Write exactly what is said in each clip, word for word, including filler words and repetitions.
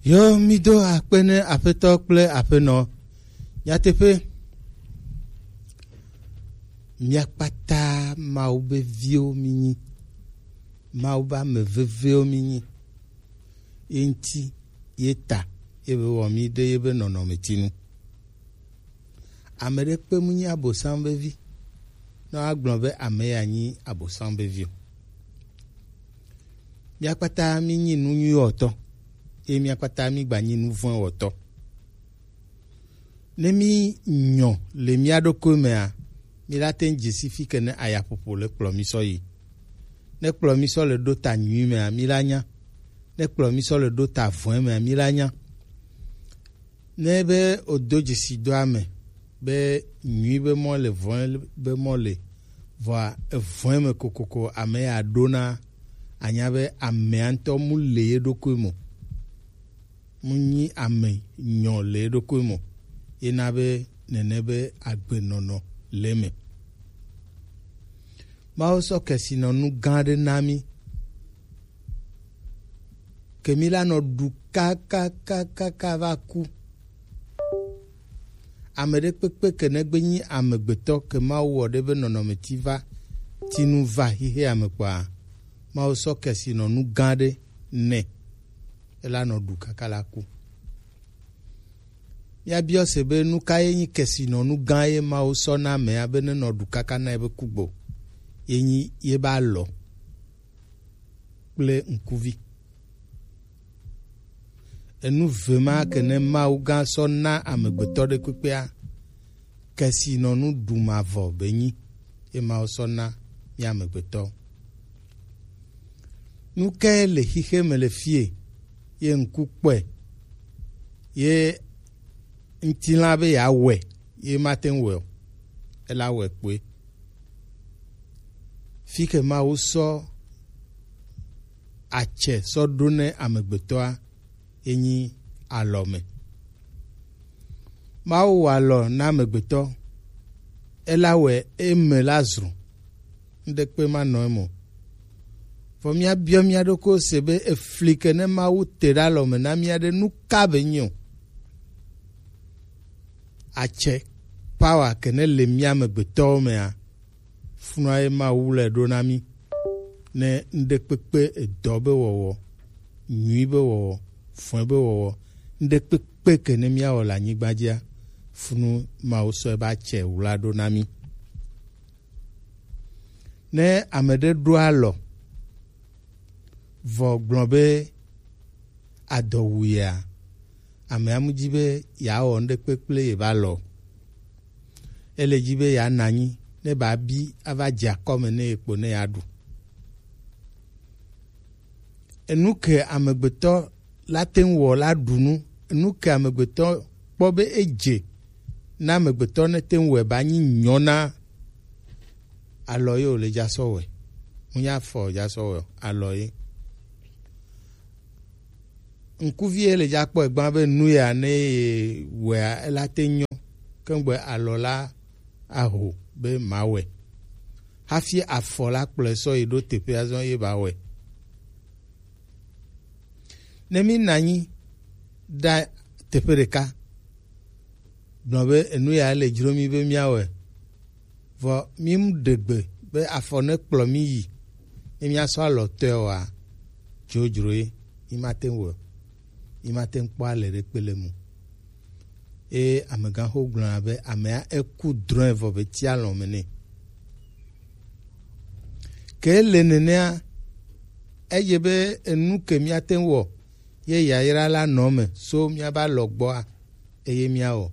Yo, mido akpe ne Aƒetɔ kple Aƒenɔ. Nyateƒe, mia kpata Mawu be viwo minyi, Mawu be ame vevewo minyi. Ye ŋuti, ye ta, ye be wɔ mi ɖe ye be nɔnɔmetinu. Ame ɖekpe mu nyi Abosam be vi, ne woagblɔ be ame ya nyi Abosam be vi o. Mia kpata mi nyi nu nyui wɔtɔ, ye mia kpata mi gba nyi nu vɔ̃e wɔtɔ. Ne mi nyɔ le mia ɖokui mea, mi la te ŋu dze si fi ke ne ayaƒoƒo le kplɔ mi sɔ yi. Ne kplɔ mi sɔ le ɖo ta nyui mea, mi la nya. Ne kplɔ mi sɔ le ɖo ta vɔ̃e mea, mi la nya. Ne be wodo dzesi do ame be nyui be mɔ le, vɔ̃e be mɔ le, vɔa evɔ̃e me kokoko ame ya ɖona, anya be amea ŋutɔ mu le ye ɖokui mo. Mu nyi ame nyɔ le ye ɖokui mo. Ye na be nene be agbenɔnɔ le me. Mawu sɔ kesinɔnu gã aɖe na mi. Ke mi la nɔ ɖu kakakakaka va ku. Ame ɖekpekpe ke negbe nyi amegbetɔ ke Mawu wɔ ɖe be nɔnɔmeti va, tinu va xixea me kpɔa, Mawu sɔ kesinɔnu gã aɖe nɛ. Ela nɔ ɖu kaka la ku. Míabiɔ se be nu ka ye nyi kesinɔnu gã ye Mawu sɔ na amea be nenɔ ɖu kaka na ebe kugbo? Ye nyi ye be alɔ kple ŋkuvi. Enu ve ma ke ne Mawu gã sɔ na amegbetɔ ɖe kpekpea, kesinɔnu ɖu mavɔ be nyi ye Mawu sɔ na mí amegbetɔ. Nu kae le xixe me le fie ye ŋku kpɔe ye ŋtilã be yeawɔe ye mate ŋu wɔe o? Ela wɔe kpoe. Fi ke Mawu sɔ atsɛ sɔ ɖo ne amegbetɔa, ye nyi alɔ me. Mawu wɔ alɔ na amegbetɔ, ela wɔe eme la zru. Ŋɖekpe ma nɔ eme o. Vɔ míabiɔ mía ɖokui se be efli ke ne Mawu te ɖe alɔ me na mía ɖe nu ka be nyi o? Atsɛ, power ke ne le mía amegbetɔwo mea, funua ye Mawu le ɖo na mí. Ne ŋɖekpekpe edɔ be wɔwɔ, nyui be wɔwɔ, vɔ̃e be wɔwɔ, ŋɖekpekpe ke ne míawɔ le anyigba dzia, funu Mawu sɔe be atsɛ wla ɖo na mí. Ne ame ɖe ɖo alɔ vɔ gblɔ be adɔ wu yea, amea mu dzi be yeawɔ ŋɖekpe kple ye va lɔ. Ele dzi be yeanɔ anyi ne ba bi ava dze akɔme ne ye kpo ne yeaɖu. Enu ke amegbetɔ la te ŋu wɔ la ɖu nu. Enu ke amegbetɔ kpɔ be edze na amegbetɔ ne te ŋu wɔe ba nyi nyɔ na alɔ ye wòle dza sɔ wɔe. Ŋunya fɔ dza sɔ wɔe o, alɔ ye. Ŋkuvi ye le dza kpɔ egba be nu ya ne ye wɔea, ela te nyɔ. Kengbe alɔ la aho be mawɔe. Hafi afɔ la kplɔe sɔ yi ɖo teƒe azɔ ye ba wɔe. Ne mi nɔ anyi ɖe teƒe ɖeka, gblɔ be enu ya le dzro mi be míawɔe. Vɔ mi mu ɖe gbe be afɔ ne kplɔ mi yi, ne míasɔ alɔ tɔe oa, dzodzro ye, mi mate ŋu wɔe o. Mi mate ŋu kpɔ ale ɖe kpe le mu. Eye amegãxo gblɔna be amea eku drɔ̃e vɔ be ti alɔ me nɛ. Ke le nenea, eye be enu ke míate ŋu wɔ ye yayra la nɔ me so míabe alɔ gbɔa, eye míawɔ.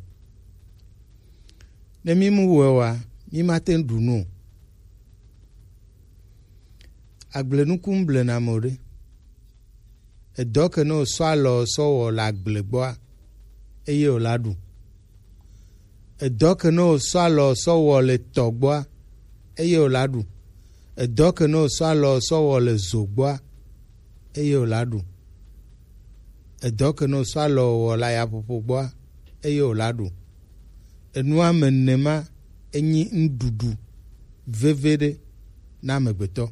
Ne mí mu wɔe oa, mí mate ŋu ɖu nu o. Agblenuku ŋu blena ame o ɖe. Edɔ ke ne wòsɔ alɔ sɔ wɔ le agble gbɔa, eye wòla ɖu. Edɔ ke ne wòsɔ alɔ sɔ wɔ le tɔ gbɔa, eye wòla ɖu. Edɔ ke ne wòsɔ alɔ sɔ wɔ le zo gbɔa, eye wòla ɖu. Edɔ ke ne wòsɔ alɔ wɔ le ayaƒoƒo gbɔa, eye wòla ɖu. Enua me ene ma enyi nuɖuɖu veve ɖe na amegbetɔ.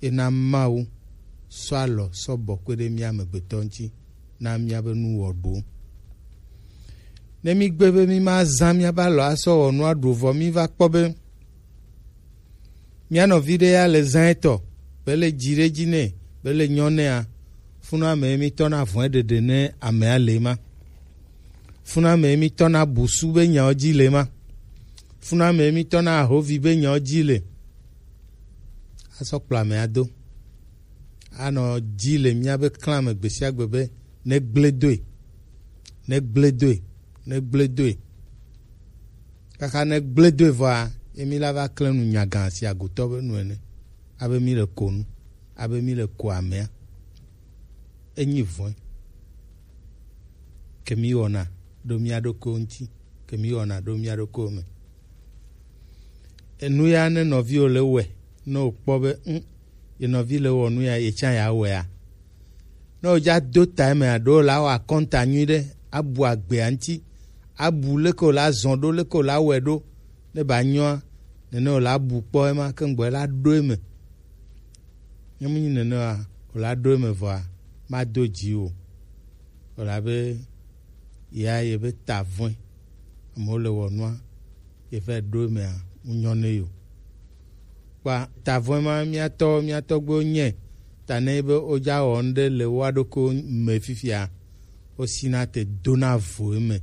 Ena Mawu sɔ alɔ sɔ bɔ kpe ɖe mía amegbetɔ ŋuti. na míabe nuwɔɖuwo. Ne mígbe be mímazã míabe alɔ asɔ wɔ nua ɖu vɔ, míva kpɔ be mía nɔvi ɖe ya le zã etɔ, be le dzi ɖe dzi nɛ, be le nyɔ nɛa, funɔ ame ye mítɔna vɔ̃e ɖeɖe ne amea le ma. Funɔ ame ye mítɔna busu be nyawo dzi le ma. Funɔ ame ye mítɔna ahovi be nyawo dzi le. Asɔ kplɔ amea do. Anɔ dzi le míabe klã me gbe sia gbe be ne gblẽ doe, ne gblẽ doe, ne gblẽ doe. Kaka ne gblẽ doe vɔa, ye mí la va klẽ nu nyagã si agotɔ be nu ene. Abe mí le ko nu, abe mí le ko amea. Enyi vɔ̃e. Ke mí wɔna ɖo mía ɖokuiwo ŋuti, ke mí wɔna ɖo mía ɖokuiwo me. Enu ya ne nɔviwo le wɔe, ne wòkpɔ be, ŋ, ye nɔvi le wɔ nu ya, ye tsã ya wɔea. Ne wòdza do ta eme aɖo la wɔ akɔnta nyui ɖe, abu agbea ŋuti, abu leke wòla zɔn ɖo, leke wòla wɔe ɖo, ne ba nyɔa, nene wòla bu kpɔ ema, ke ŋgbɔ la ɖo eme. Ne mu nyi nene wa, wòla ɖo eme vɔa, mado dzi o. Wòla be, ya ye be ta vɔ̃e. Amewo le wɔ nua, ye va ɖo emea, ŋu nyɔ ne yo. Kpa ta vɔ̃e ma, mía tɔ, mía tɔgbuiwo nyɛ, ta ne be wodza wɔ nu ɖe le woa ɖokuiwo me fifia, wosina te dona vo eme.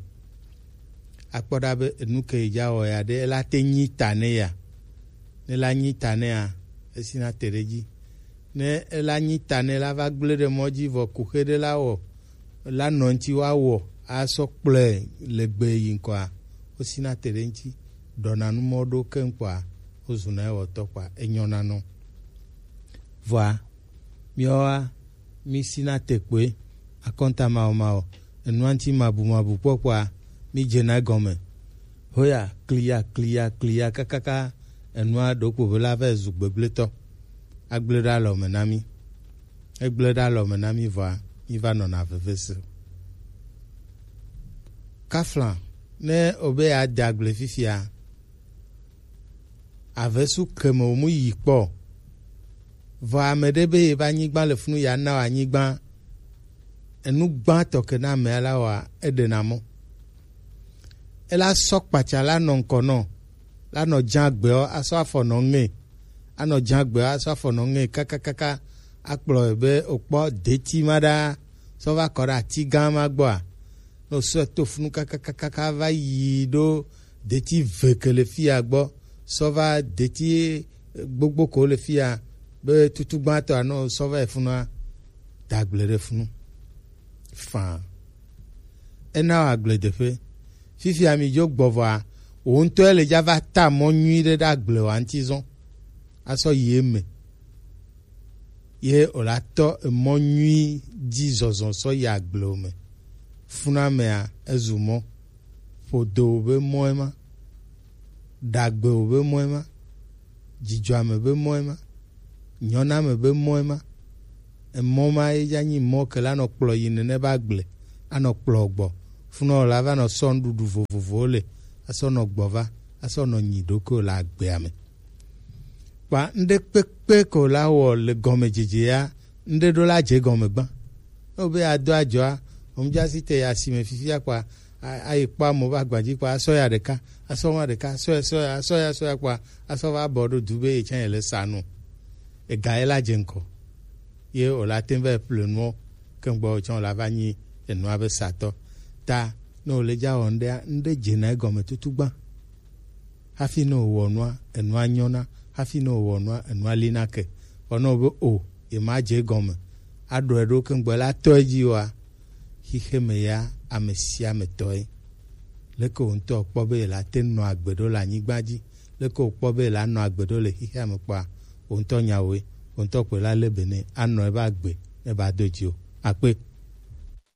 Akpɔ ɖa be enu ke yi dza wɔ ya ɖe, ela te nyi ta ne ya. Ne la nyi ta nea, esina te ɖe dzi. Ne ela nyi ta ne la va gblẽ ɖe mɔ dzi vɔ kuxe ɖe la wɔ, la nɔ ŋuti woawɔ asɔ kplɔe le gbe yi ŋkɔa, wosina te ɖe ŋuti. Ɖɔna nu mɔ ɖo keŋ kpɔa, wozuna ewɔtɔ kpɔa, enyɔna nɔ. Vɔa, míawoa, mísina te kpoe, akɔnta mawɔmawɔ, enua ŋuti mabumabu kpɔkpɔa, mídzena egɔme. Hoya, kliya, kliya, kliya, kakaka, enua ɖokpo be la va zu gbegblẽtɔ. Agblẽ ɖe alɔ me na mí. Egblẽ ɖe alɔ me na mí vɔa, míva nɔna veve se. Kafla, ne obe yeade agble fifia, avesu ke me wòmu yi kpɔ o. Vɔ ame ɖe be yebe anyigba le funu, yeana wò anyigba. Enu gbãtɔ ke na amea la wɔa, eɖena mɔ. Ela sɔ kpatsa la nɔ ŋkɔ nɔ, la nɔ dza gbeɔ, asɔ afɔ nɔ ŋe. Anɔ dza gbeɔ, asɔ afɔ nɔ ŋe kakakaka, akplɔe be wòkpɔ deti ma ɖa, sɔ va kɔ ɖe ati gã ma gbɔa. Ne wòsɔe to funu kakakaka va yi ɖo deti ve ke le fia gbɔ, sɔ va deti gbogbo ko le fia, be tutu gbãtɔa, ne wòsɔ va yi funua, da agble ɖe funu. Faa. Ena wò agbledeƒe. Fifia mi dzo gbɔ vɔa, wò ŋutɔe le dza va ta mɔ nyui ɖe ɖe agble wa ŋuti zɔn. Asɔ yi eme. Ye wòla tɔ emɔ nyui dzi zɔzɔ sɔ yi agble me. Funamea ezu mɔ. Ƒodo be mɔe ma. Ɖagbe be mɔe ma. Dzidzɔame be mɔe ma. Nyɔname be mɔe ma. Emɔ ma ye dza nyi mɔ ke la nɔ kplɔ yi nene be agble. Anɔ kplɔ gbɔ. Funɔ la va nɔ sɔ nuɖuɖu vovovowo le. Asɔ nɔ gbɔ va. Asɔ nɔ nyi ɖokuiwo le agbea me. Kpa ŋɖe kpekpe ko la wɔ le gɔmedzedzea, ŋɖe ɖo la dze gɔme gbã. Ne wobe ado adzɔa, omdza si te yi asime fifia kpa, a-, ayi kpɔ amewo be agbadzi kpa, asɔ ya ɖeka, asɔ wa ɖeka, asɔ ya, asɔ ya, asɔ ya, asɔ ya kpa, asɔ va bɔ ɖo du be ye tsã ye le sa nu. Ega ye la dze ŋkɔ. Ye wòla te va yi ƒle nuɔ, ke ŋgbɔ tsã wòla va nyi enua be satɔ. Ta, ne wòle dza wɔ ŋɖea, ŋɖe dzena egɔme tutu gbã. Hafi ne wòwɔ nua, enua nyɔna. Hafi ne wòwɔ nua, enua lina ke. Vɔ ne wòbe o, yemadze egɔme, aɖɔe ɖo keŋgbɔ la tɔ edzi oa, xixe me ya ame sia ame tɔe. Leke wò ŋutɔ kpɔ be yela te nɔ agbe ɖo le anyigba dzi? Leke wòkpɔ be yela nɔ agbe ɖo le xixea me kpɔa? Wò ŋutɔ nya woe. Wò ŋutɔ kpɔe la le be ne anɔ ebe agbe ne ba do dzi o. Akpe.